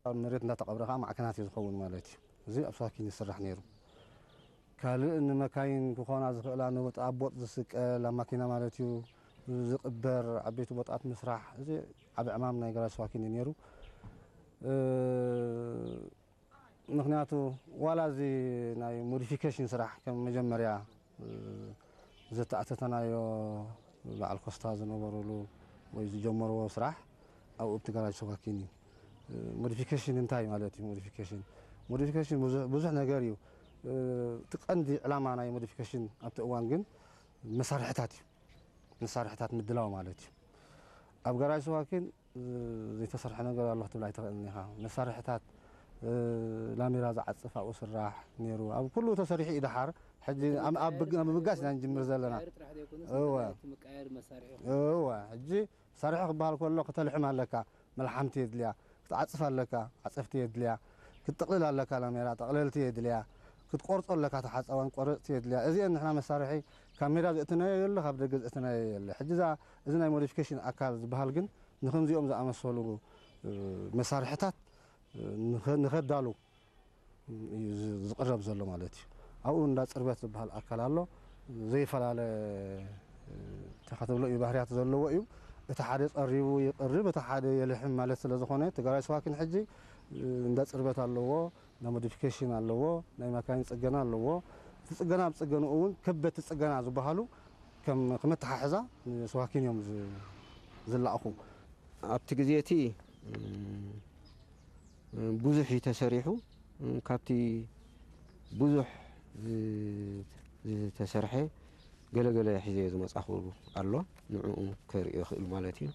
ኣብ መሬት እንዳተቐብረ ከዓ ማዕከናት እዩ ዝኸውን ማለት እዩ። እዚ ኣብ ሰዋኪን ይስራሕ ነይሩ። ካልእ ንመካይን ክኾና ዝኽእላ ንወጥ ኣብ ቦጥ ዝስቀል ኣብ ማኪና ማለት እዩ ዝቕበር ዓበይቲ ቦጣት ምስራሕ፣ እዚ ዓቢ ዕማም ናይ ገራጅ ሰዋኪን እዩ ነይሩ። እ፣ ምኽንያቱ ዋላ እዚ ናይ ሞዲፊኬሽን ስራሕ ከም መጀመርያ፣ እ፣ ዘተኣተተናዮ በዓል ኮስታ ዝነበሩሉ ወይ ዝጀመርዎ ስራሕ ኣብኡ ኣብቲ ገራጅ ሰዋኪን እዩ። እ፣ ሞዲፊኬሽን እንታይ ማለት እዩ? ሞዲፊኬሽን፣ ሞዲፊኬሽን ብዙሕ፣ ብዙሕ ነገር እዩ። እ፣ እቲ ቀንዲ ዕላማ ናይ ሞዲፊኬሽን ኣብቲ እዋን ግን መሳርሕታት እዩ። መሳርሕታት ምድላው ማለት እዩ። ኣብ ገራጅ ሰዋኪን፣ እ፣ ዘይተሰርሐ ነገር ኣሎ ክትብል ኣይትኽእልን ኢኻ። መሳርሕታት፣ እ፣ ላሜራ ዝዓጽፍ ኣብኡ ስራሕ ነይሩ። ኣብ ኩሉ ተሰሪሑ እዩ ደሓር። ሕጂ ኣብ፣ ኣብ ብግ-፣ ኣብ ምብጋስ ኢና ንጅምር ዘለና። ምቅያር ጥራሕ ዘይኮነስ እወ። ናይ እቲ ምቅያር መሳርሒ እወ፣ ሕጂ መሳርሒ ክበሃል ከሎ ክተልሕም ኣለካ፣ መልሓምቲ የድልያ፣ ክትዓጽፍ ኣለካ፣ ዓጸፍቲ የድልያ፣ ክትጥቕልል ኣለካ፣ ላሜራ ጠቕለልቲ የድልያ፣ ክትቆርጾ ኣለካ፣ ተሓጻዋን ቆረጽቲ የድልያ። እዚአን ንሕና መሳርሒ ካብ ሜዳ ዘእትናዮ የለ፣ ካብ ደገ ዘእትናዮ የለ። ሕጂ እዛ፣ እዚ ናይ ሞዲፊኬሽን ኣካል ዝበሃል ግን ንኸምዚኦም ዝኣመሰሉ፣ እ፣ መሳርሕታት፣ እ፣ ንኸ-፣ ንኸዳሉ እዩ ዝ-፣ ዝቕረብ ዘሎ ማለት እዩ። ኣብኡ እንዳ ጽርበት ዝበሃል ኣካል ኣሎ። ዘይፈላለ፣ እ፣ እንታይ ክትብሎ እዩ፣ ባህርያት ዘለዎ እዩ። እቲ ሓደ ጸሪቡ ይቕርብ፣ እቲ ሓደ የልሕም ማለት ስለ ዝኾነ፣ እቲ ገራጅ ሰዋኪን ሕጂ፣ እ፣ እንዳ ጽርበት ኣለዎ፣ እንዳ ሞዲፊኬሽን ኣለዎ፣ ናይ ማካይን ጽገና ኣለዎ። እቲ ጽገና ኣብ ጽገንኡ እውን ከበድቲ ጽገና ዝበሃሉ ከም፣ ከም ኣተሓሕዛ ንሰዋኪን እዮም ዝ-፣ ዝለኣኹ። ኣብቲ ግዜ እቲ፣ እ፣ ብዙሕ እዩ ተሰሪሑ። ካብቲ ብዙሕ ዝ-፣ ዝተሰርሐ ገለ ገለ ሒዘዮ ዝመጻኹ ኣሎ። ንዕኡ ከርእዮ ይኽእል ማለት እዩ።